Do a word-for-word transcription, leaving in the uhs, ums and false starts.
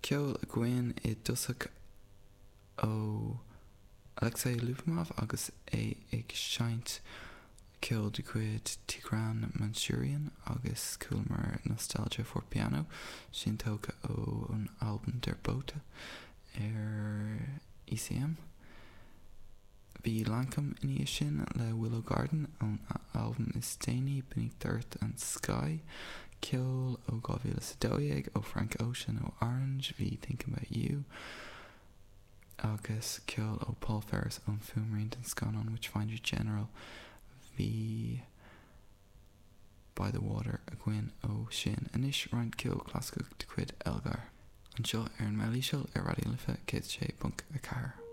Ceol againn i dtosach ó Alexei Lubimov agus é ag seinnt ceol de chuid Tigran Mansurian agus chualamar Nostalgia for Piano sin tógtha ón albam Der Bote ar ECM. Bhí Lankum ina dhiaidh sin le Willow Garden ón albam is déanaí Beneath Earth and Sky, ceol ó dhá mhíle is a dó dhéag ó Frank Ocean ó Orange bhí Thinking About You agus ceol ó Paul Ferris ón fuaimrian den scannán Witchfinder General bhí By the Water againn ó sin. Anois roinnt ceol clasaiceach de chuid Elgar. Anseo ar an Meilíseil ar Raidió Life céad sé ponc a ceathair.